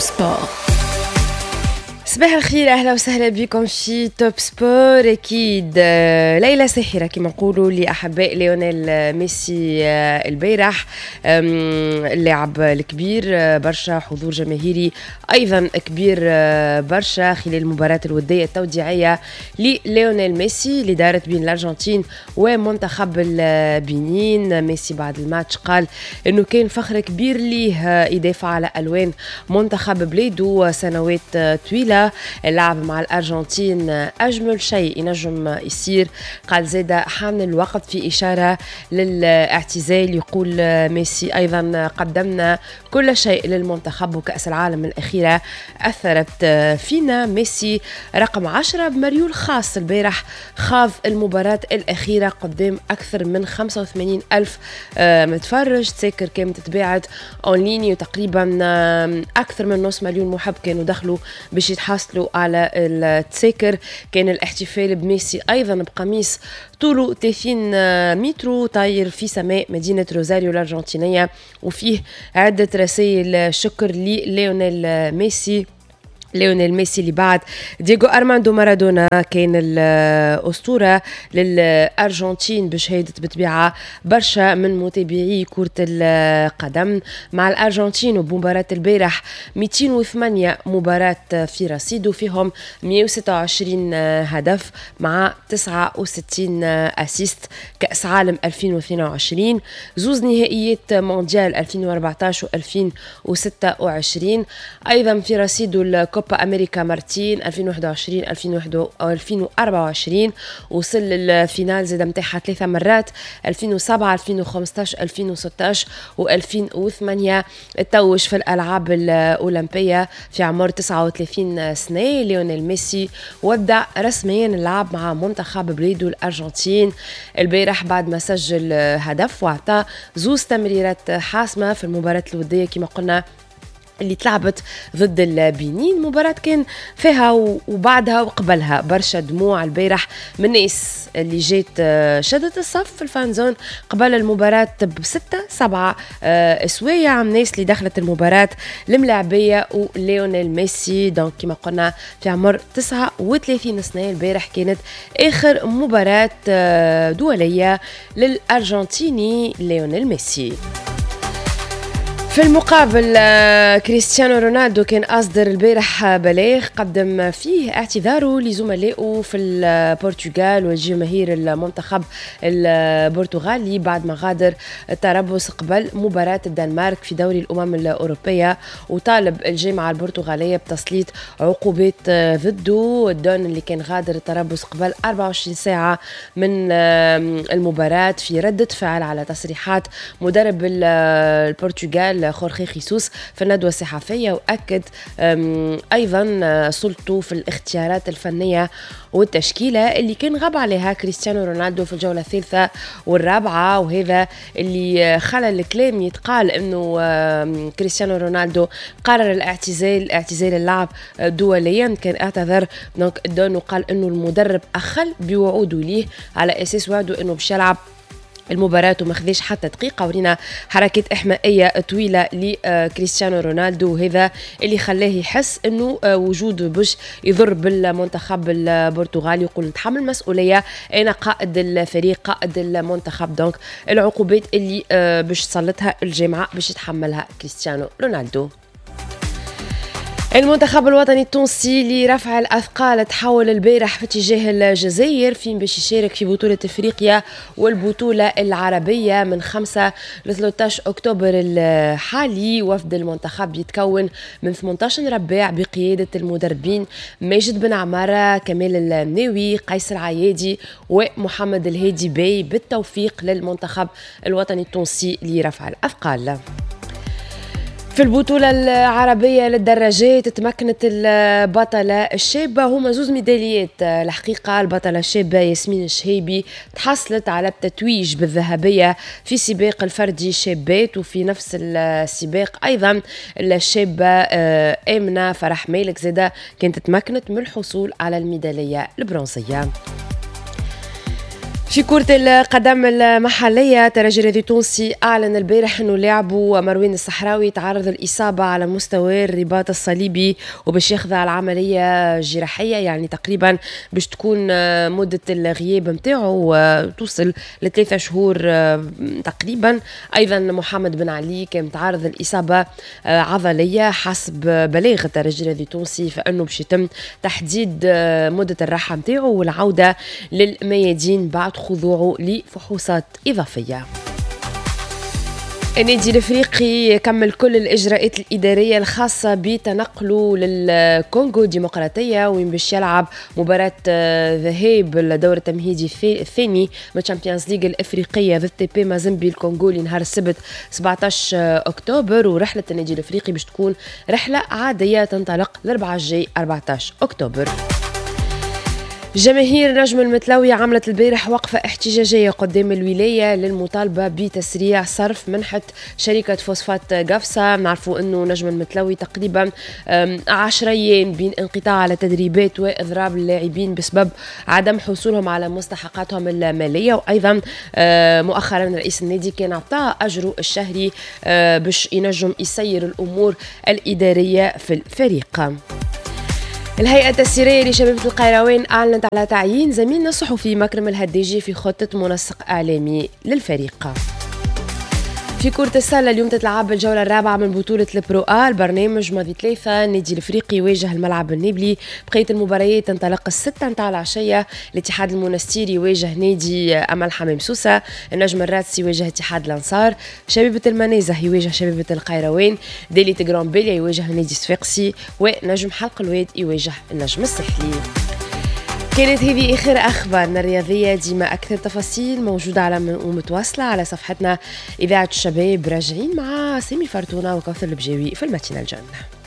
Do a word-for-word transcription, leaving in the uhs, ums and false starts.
Top Sport. صباح الخير، اهلا وسهلا بكم في Top Sport. اكيد آه، ليلة ساحرة كما نقولوا لاحباء ليونيل ميسي. آه، البارح اللاعب الكبير، آه، برشا حضور جماهيري ايضا كبير برشا خلال المباراة الودية التوديعيه لليونيل ميسي اللي دارت بين الارجنتين ومنتخب البنين. ميسي بعد الماتش قال انه كان فخر كبير ليه يدافع على الوان منتخب بلاده سنوات طويله. اللعب مع الأرجنتين أجمل شيء ينجم يصير. قال زاد حان الوقت في إشارة للاعتزال. يقول ميسي أيضا قدمنا كل شيء للمنتخب وكأس العالم الأخيرة أثرت فينا. ميسي رقم عشرة بمريول خاص البارح خاض المباراة الأخيرة قدام أكثر من خمسة وثمانين ألف متفرج. تساكر كانت تباعت en ligne وتقريبا أكثر من نص مليون محب كانوا دخلوا باش يتحصلوا على التساكر. كان الاحتفال بميسي ايضا بقميص طوله ثلاثين متر طاير في سماء مدينة روزاريو الارجنتينية، وفيه عده رسائل شكر لليونيل ميسي. ليونيل ميسي اللي بعد دييغو أرماندو مارادونا كان الأسطورة للأرجنتين بشهادة بطبيعة برشا من متابعي كرة القدم. مع الأرجنتين وبمباراة البارح مئتين وثمانية مباراة في رصيده، فيهم مئة وستة وعشرين هدف مع تسعة وستين assist. كأس عالم ألفين واثنين وعشرين، زوز نهائيات مونديال ألفين وأربعتاش و ألفين وستة وعشرين، أيضا في رصيده الكوبا أمريكا مرتين ألفين وواحد وعشرين ألفين وأربعة وعشرين، وصل لل finale زاد متاعها ثلاثة مرات ألفين وسبعة ألفين وخمستاش ألفين وستاش و ألفين وثمانية. توج في الألعاب الأولمبية في عمر تسعة وثلاثين سنة. ليونيل ميسي ودع رسميا اللعب مع منتخب بلاده الأرجنتين البارح بعد ما سجل هدف وأعطى زوز تمريرات حاسمة في المباراة الودية كما قلنا اللي تلعبت ضد البنين. مباراة كان فيها وبعدها وقبلها برشا دموع البارح من الناس اللي جات شدت الصف في ال fan zone قبل المباراة بستة سبعة سوايع، الناس اللي دخلت المباراة الملاعبية وليونيل ميسي. donc كما قلنا في عمر تسعة وثلاثين سنة البارح كانت آخر مباراة دولية للأرجنتيني ليونيل ميسي. في المقابل كريستيانو رونالدو كان أصدر البارح بلاغ قدم فيه اعتذاره لزملائه في البرتغال وجماهير المنتخب البرتغالي بعد ما غادر التربص قبل مباراة الدنمارك في دوري الأمم الأوروبية، وطالب الجامعة البرتغالية بتسليط عقوبات ضده. الدون اللي كان غادر التربص قبل أربعة وعشرين ساعة من المباراة في ردة فعل على تصريحات مدرب البرتغال خورخي خيسوس في الندوة الصحفية، وأكد أيضا سلطته في الاختيارات الفنية والتشكيلة اللي كان غاب عليها كريستيانو رونالدو في الجولة الثالثة والرابعة، وهذا اللي خلى الكلام يتقال أنه كريستيانو رونالدو قرر الاعتزال اعتزال اللعب دوليا. كان اعتذر donc الدون وقال أنه المدرب أخل بوعوده ليه على أساس وعده أنه باش يلعب المباراة وما خذاش حتى دقيقة. ورينا حركات إحمائية طويلة لكريستيانو رونالدو، وهذا اللي خلاه يحس أنه وجوده باش يضر بالمنتخب البرتغالي. يقول نتحمل مسؤولية، أنا قائد الفريق قائد المنتخب، donc العقوبات اللي باش تسلطها الجامعة باش يتحملها كريستيانو رونالدو. المنتخب الوطني التونسي لرفع الأثقال تحول البارح في اتجاه الجزائر فين باش يشارك في بطولة افريقيا والبطولة العربية من خمسة ل ثلاثة عشر أكتوبر الحالي. وفد المنتخب يتكون من ثمانية عشر رباع بقيادة المدربين ماجد بن عمارة، كمال الناوي، قيس العيادي ومحمد الهادي باي. بالتوفيق للمنتخب الوطني التونسي لرفع الأثقال. في البطولة العربية للدراجات تمكنت البطلة الشابة، هما زوز ميداليات الحقيقة. البطلة الشابة ياسمين الشهيبي تحصلت على التتويج بالذهبية في سباق الفردي الشابات، وفي نفس السباق أيضا الشابة آمنة فرح مالك زادة كانت تمكنت من الحصول على الميدالية البرونزية. في كرة القدم المحلية، ترجي الرياضي التونسي أعلن البارح أنه لاعبه مروان الصحراوي تعرض الإصابة على مستوى الرباط الصليبي وباش يخضع العملية الجراحية، يعني تقريبا باش تكون مدة الغياب نتاعو توصل لثلاثة شهور تقريبا. أيضا محمد بن علي كان تعرض الإصابة عضلية حسب بلاغ الترجي الرياضي التونسي، فإنه باش يتم تحديد مدة الراحة نتاعو والعودة للميادين بعد خضوعه لفحوصات إضافية. النادي الافريقي كمل كل الاجراءات الادارية الخاصة بتنقله للكونغو الديمقراطية، وين باش يلعب مباراة ذهاب الدور التمهيدي الثاني من Champions League الافريقية ضد تي بي مازيمبي الكونغولي نهار السبت سبعة عشر اكتوبر. ورحله النادي الافريقي باش تكون رحله عادية تنطلق الاربعاء الجاي أربعة عشر اكتوبر. جماهير نجم المتلوي عملت البارح وقفة احتجاجية قدام الولاية للمطالبة بتسريع صرف منحة شركة فوسفات قفصة. نعرفوا أنه نجم المتلوي تقريبا عشر أيام بين انقطاع على تدريبات وإضراب اللاعبين بسبب عدم حصولهم على مستحقاتهم المالية، وأيضا مؤخرا رئيس النادي كان أعطاه أجره الشهري باش ينجم يسير الأمور الإدارية في الفريق. الهيئة التسييرية لشبيبة القيروان أعلنت على تعيين زميلنا الصحفي مكرم الهداجي في خطة منسق إعلامي للفريق. في كرة السلة، اليوم تتلعب الجولة الرابعة من بطولة ال Pro A، البرنامج ماضي ثلاثة. النادي الافريقي يواجه الملعب النابلي. بقية المباريات تنطلق الستة نتاع العشية: الاتحاد المونستيري يواجه نادي أمل حمام سوسة، النجم الرادسي يواجه اتحاد الأنصار، شبيبة المنازه يواجه شبيبة القيروان، دالية قرمبالية يواجه نادي صفاقسي، ونجم حلق الواد يواجه النجم الساحلي. كانت هذه آخر أخبارنا الرياضية. ديما أكثر تفاصيل موجودة على ومتواصلة على صفحتنا إذاعة الشباب. راجعين مع سامي فرتونة وكوثر البجاوي في ال matinale.